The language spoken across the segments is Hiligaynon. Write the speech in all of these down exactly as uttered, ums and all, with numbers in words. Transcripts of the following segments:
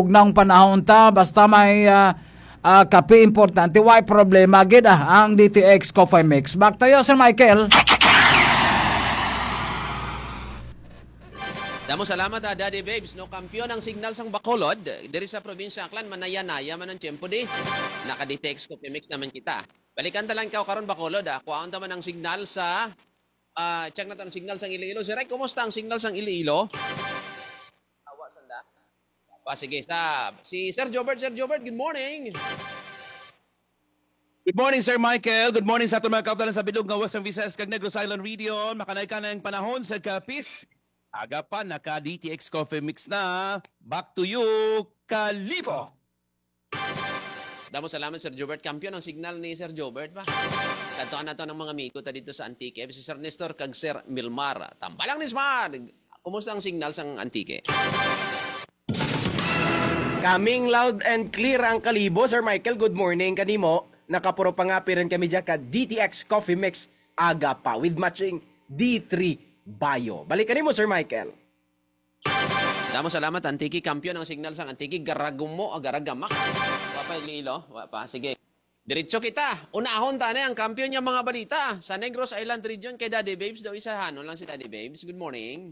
Ug nang panahon ta, basta may, ah, ah, kape importante, way problema gid, ah, ang D T X Coffee Mix. Back to you, Sir Michael. Damo salamat, ah, Daddy Babes, no? Kampiyon ang signal sang Bacolod diri sa probinsya Aklan, manaya-naya man ang tiyempo di. Naka-D T X Coffee Mix naman kita. Balikan ta lang ikaw karon, Bacolod, ah. Kuhaon ta man ang signal sa, ah, check naton ang signal sang Iloilo. Sir Rek, kumusta ang signal sang Iloilo? Awa, sanda. Pa, sige, sa, si Sir Jobert. Sir Jobert, good morning. Good morning, Sir Michael. Good morning sa aton mga kaabtanan sa bilog nga Western Visayas kag Negros Island region. Makanay ka na ang panahon sa kapis. Aga pa, naka D T X Coffee Mix na. Back to you, Kalibo. Damo salamat, Sir Jobert. Kampiyon ang signal ni Sir Jobert ba? Kadtuan nato ang mga amigo ta dito sa Antique, si Sir Nestor kag Sir Milmar. Tambalang Nismar! Kumusta ang signal sang Antique? Coming loud and clear ang Kalibo, Sir Michael. Good morning kanimo. Nakapuro pangapi rin kami dyan ka D T X Coffee Mix aga pa with matching D three Bio. Balik kanimo, Sir Michael. Damo salamat, Antique. Kampiyon ang signal sang Antique. Garagumo, ah, garagamak. Wa pa, Iloilo. Wa pa. Sige. Diretso kita. Unahon ta na ang kampiyon nga mga balita sa Negros Island Region kay Daddy Babes daw. Isahanon lang si Daddy Babes. Good morning.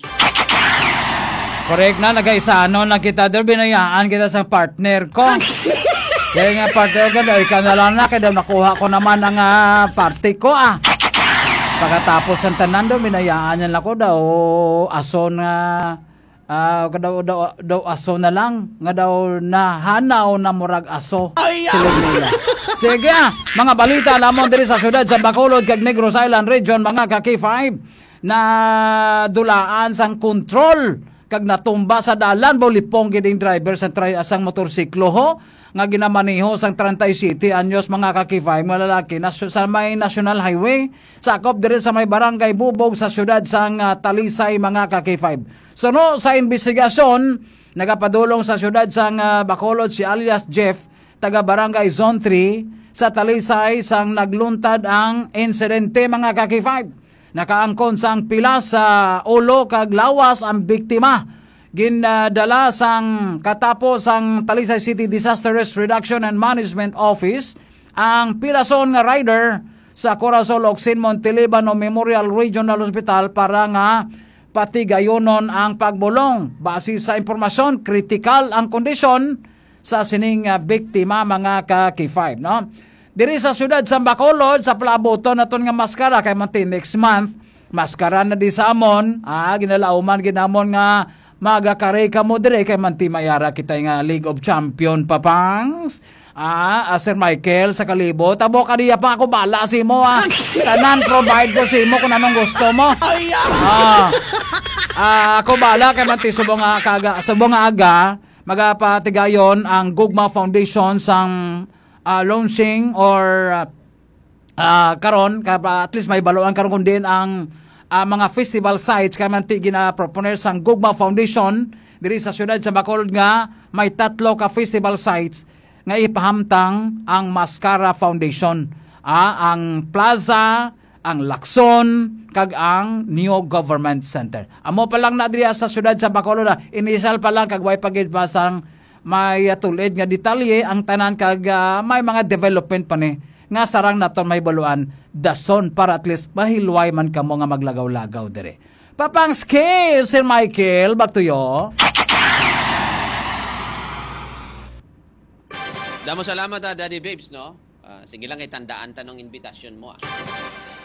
Correct na, nagaisanon lang kita. Daw binayaan kita sa partner ko. Kaya nga partner ko, daw ikaw na lang na, kaya daw nakuha ko naman ang, ah, parte ko, ah. Pagkatapos ang tanan daw, binayaan niya lang ko daw, aso na, ah, daw, daw, daw aso na lang, nga daw nahanaw na murag aso. Ay, ah! Silog nila. Sige, ah, mga balita lamang diri sa siyudad sa Bacolod kag Negros Island Region, mga ka-K five, na dulaan sang kontrol kag natumba sa dalan, bulipong gid ang driver sa tri-, sang motorsiklo, ho, nga ginamaneho sang treinta y siete anyos, mga ka-K five, nga lalaki na sa may National Highway, sakop diri sa may Barangay Bubog sa siyudad sang, ah, Talisay, mga ka-K five. Suno sa investigasyon, nagapadulong sa siyudad sang, ah, Bacolod si alias Jeff, taga Barangay Zone three sa Talisay, sang nagluntad ang insidente, mga ka-K five. Nakaangkon sang pila sa ulo kag lawas ang biktima. Gindala sang katapo sang Talisay City Disaster Risk Reduction and Management Office ang pilason nga rider sa Corazon Locsin Montelibano Memorial Regional Hospital para nga patigayonon ang pagbulong. Base sa impormasyon, kritikal ang kondisyon sa sining, ah, biktima, mga ka-K five, no? Diri sa siyudad sa Bacolod, sa palabuton naton nga maskara, kay manti next month, maskara na di sa amon, ah, ginalauman ginamon nga magakari kamo dire kay manti mayara kita nga League of Champion, papangs. Ah, ah, Sir Michael, sa Kalibo, tabo ka diya pa, ako bala sa imo, ah. Tanan provide ko sa imo kung anong gusto mo. Ay, ah! Ah, ah, ako bala kay manti subong nga kaga, subong nga aga, magapatigayon ang Gugma Foundation sang, ah, launching or, ah, ah, karon, ka, at least may baluan karon kung diin ang, ah, mga festival sites kay manti gina-proponer sang Gugma Foundation diri sa siyudad sa Bacolod nga may tatlo ka festival sites nga ipahamtang ang Mascara Foundation. Ah, ang Plaza, ang Lacson, kag ang New Government Center. Amo pa lang na diri sa siyudad sa Bacolod, ah. Initial pa lang kag way pa gid pa sang may, ah, tulid nga detalye ang tanan kag, ah, may mga development pa ni nga sarang naton mahibaluan dason para at least mahilway man kamo nga maglagaw-lagaw dire. Papang Skill, Sir Michael, back to you. Damo salamat, ah, Daddy Babes, no? Ah, sige lang, itandaan ta nung invitation mo, ah.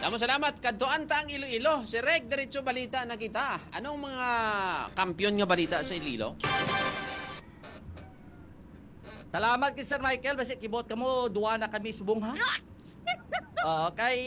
Damo salamat. Kadtuan ta ang Iloilo. Si Reg, diretso balita na kita. Anong mga kampiyon nga balita sa Iloilo? Salamat kay Sir Michael. Basi kibot ka mo, duwa na kami subong, ha? Okay.